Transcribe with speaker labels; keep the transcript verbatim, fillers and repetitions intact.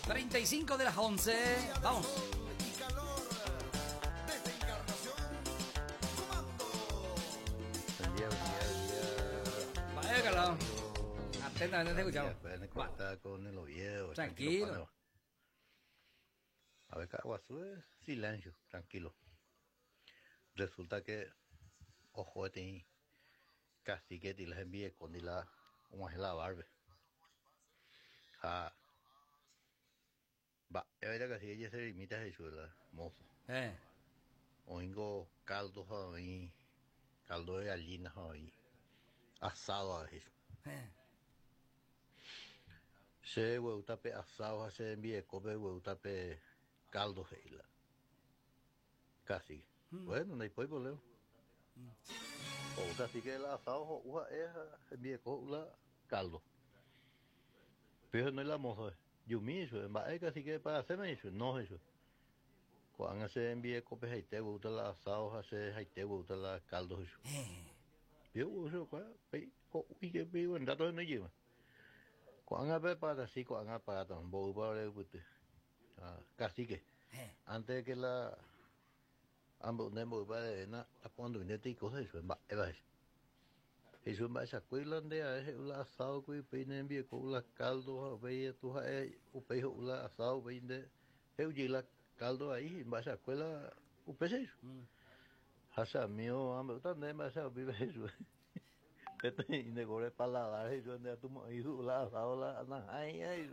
Speaker 1: Treinta y cinco de las once. Vamos.
Speaker 2: Buen día, buen día, buen día.
Speaker 1: Vaya, Carlos. Atentamente te escuchamos.
Speaker 2: Pueden con el Oviedo.
Speaker 1: Tranquilo.
Speaker 2: A ver, Caaguazú es silencio, tranquilo. Resulta que, ojo, este cacique y les envié con la, como es la barbe. Ah. Va, es verdad que así ella se limita a eso, ¿verdad? Mozo.
Speaker 1: Eh.
Speaker 2: Oingo caldo ahí, caldo de gallina ahí, asado a eso.
Speaker 1: Eh.
Speaker 2: Se hueutape asado, se envíe cope hueutape caldo heila. Casi.
Speaker 1: Mm.
Speaker 2: Bueno, no hay problema.
Speaker 1: Mm.
Speaker 2: O casi que el asado uja es envíe la caldo. Pero no es la mozo. Yumi eso, va casi que para hacerme eso, no eso. Cuando se envíe cope jaite gusta la asado, hace jaite gusta la caldo eso. Yo uso cuál, pe, co y que pe buen dato no lleva. Cuando pe para así, cuando para tan bo para el pute. Ah, casi que antes de que la ambos nembo para de na cuando viene te cosas eso, va, eva eso. Eso va esa cuila de a ese la asado que pe envíe con la caldo, pe tu ja u pe la asado pe de eu la caldo ahí, va esa escuela u pe eso. Hasa mío, ambe utan de más a vive eso. Este y de gore paladar eso de tu hijo la asado la na ay ay.